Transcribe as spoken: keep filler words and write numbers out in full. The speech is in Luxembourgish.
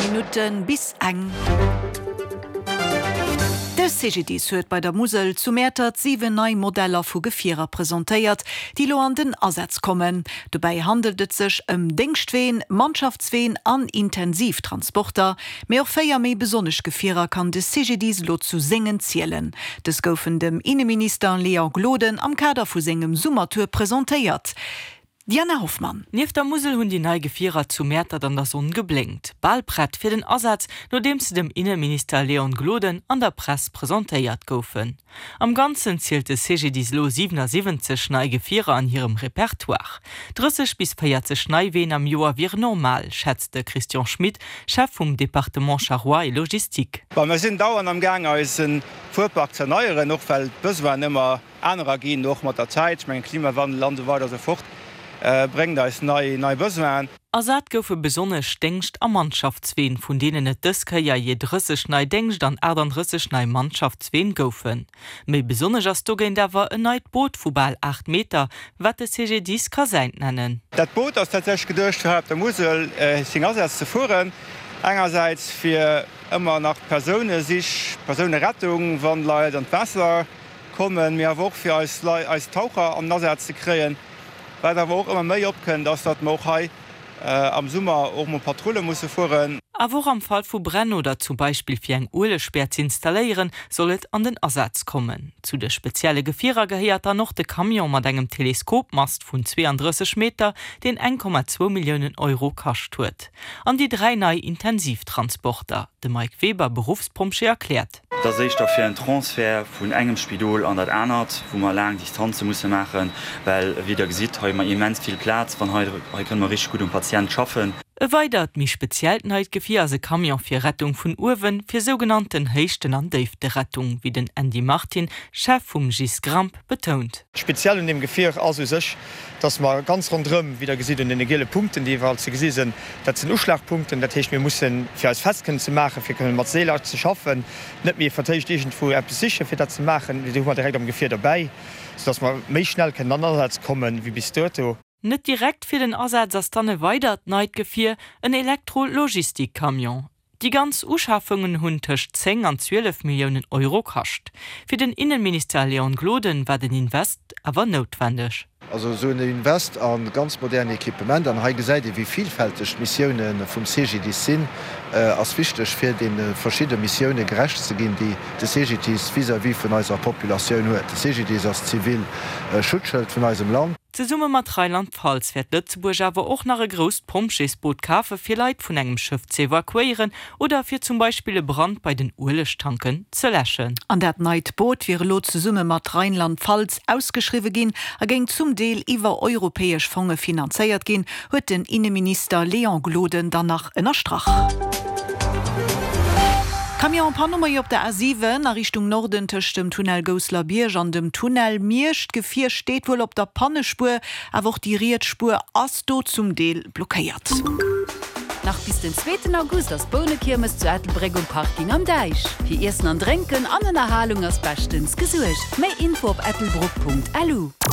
Minutten bis eng. De C G D I S huet bei der Musel zu Mäertert siwen nei Modeller vu Gefierer presentéiert, déi lo an den Asaz kommen. Dobäi handelt et sech ëm Déngschtween, Mannschaftsween an Intensivtransporter. Mee och véier méi besonnesch Gefierer kann de C G D I S lo zu sengen zielen. Dës goufen dem Inneminister Léon Gloden am Kader vu sengem Summertour presentéiert. Diana Hoffmann. Nieft der Musel hunn déi nei Gefierer zu Mäertert an der Sonn geblénkt. Bal prett fir den Asaz, nodeems se dem Inneminister Léon Gloden an der Press presentéiert goufen. Am Ganzen zielt de C G D I S lo siwenasiwwenzeg nei Gefierer an hirem Repertoire. drësseg bis véierzeg nei Ween am Joer wieren normal, schätzt de Christian Schmit, Chef vum Departement Charroi et Logistique. Mir sinn dauernd am Gaang eise Fuerpark ze erneieren, och well d'Besoinen ëmmer anerer ginn, och mat der Zäit, ech mengen Klimawandel an esou weider esou fort bréngt eis nei nei Besoinen. Ersat goufe besonnesch Déngscht a Mannschaftsween, vun deenen et dës Kéier jee drësseg nei Déngscht an aachtanddrësseg nei Mannschaftsween goufen. Méi besonnesch ass dogéint awer en neit Boot vu bal aacht Meter, wat de C G D I S ka säint nennen. Dat Boot ass tatsächlech geduecht fir hei op der Musel seng Asätz ze fueren. Engersäits fir ëmmer nach Persounesich, Persounerettung, wann Leit an d'Waasser kommen, mee awer och fir eis Leit, eis Taucher an den Asaz ze kréien. Wat awer och ëmmer méi opkënnt, ass datt mer och hei am Summer och mol Patrulle musse fueren. Awer och am Fall vu Bränn oder zum Beispill fir eng Uelegspär z'installéieren, soll et an den Asaz kommen. Zu de spezielle Gefierer gehéiert dann och de Camion mat engem Teleskopmast vun zweeandrësseg Meter, deen eng Komma zwou Milliounen Euro kascht huet. An déi dräi nei Intensivtransporter. De Mike Weber, Beruffspompjee, erkläert. Et ass éischter fir en Transfert vun engem Spidol an dat anert, wou mer laang Distanze musse maachen, well wéi Der gesitt, hei hu mer immens vill Plaz, wann hei, hei kënne mer richteg gutt um Patient schaffen. E weidert méi speziellt neit Gefier ass e Camion fir Rettung vun uewen, fir sougenannten Héichten an Déifterettung, wéi den Andy Martin, Chef vum GIS Gramp, betount. Speziell un deem Gefier ass u sech, dass mer ganz ronderëm, wéi Der gesitt un deene giele Punkten, déi iwwerall ze gesi sinn, dat sinn Uschlagpunkten, dat heescht, mir mussen, fir eis fest kënnen ze maachen, fir kënnen mat Seeler ze schaffen, net méi fir d'éischt iergendwou eppes sichen, fir dat ze maachen, déi hu mer direkt am Gefier dobäi, soudass mer méi schnell kënnen an den Asaz kommen, wéi bis duerto. Net direkt fir den Asaz ass dann e weidert neit Gefier, en Elektro-Logistik-Camion. Déi ganz Uschafungen hunn tëscht zéng an zwielef Milliounen Euro kascht. Fir den Innenminister Léon Gloden war den Invest awer noutwendeg. Also esou en Invest a ganz modern Equipement, an hei gesäit ee wéi villfälteg d'Missioune vum C G D I S sinn, ass wichteg fir deene verschidde Missioune gerecht ze ginn, déi de C G D I S vis-à-vis vun eiser Populatioun huet. De C G D I S ass zivil Schutzschëld vun eisem Land. Zesumme mat Rheinland-Pfalz wäert Lëtzebuerg awer och nach e grousst Pompjeesboot kafe fir Leit vun engem Schëff z'evakuéieren oder fir zum Beispill e Brand bei den Uelegtanken ze läschen. An dat neit Boot wier elo zesumme mat Rheinland-Pfalz ausgeschriwwe ginn a géing zum Deel iwwer europäesch Fonge finanzéiert ginn, huet den Inneminister Léon Gloden dann nach ënnerstrach. Camion en panne op der A siwen a Richtung Norden tëscht dem Tunnel Gousselerbierg an dem Tunnel Miersch. D'Gefier steet wuel op der Pannespuer, awer och déi riets Spuer ass do zum Deel blockéiert. Nach bis den zweeten August ass Bounekiermes zu Ettelbréck um Parking am Däich. Fir Iessen an Drénken an Ënnerhalung ass beschtens gesuergt. Méi Info op ettelbruck Punkt lu.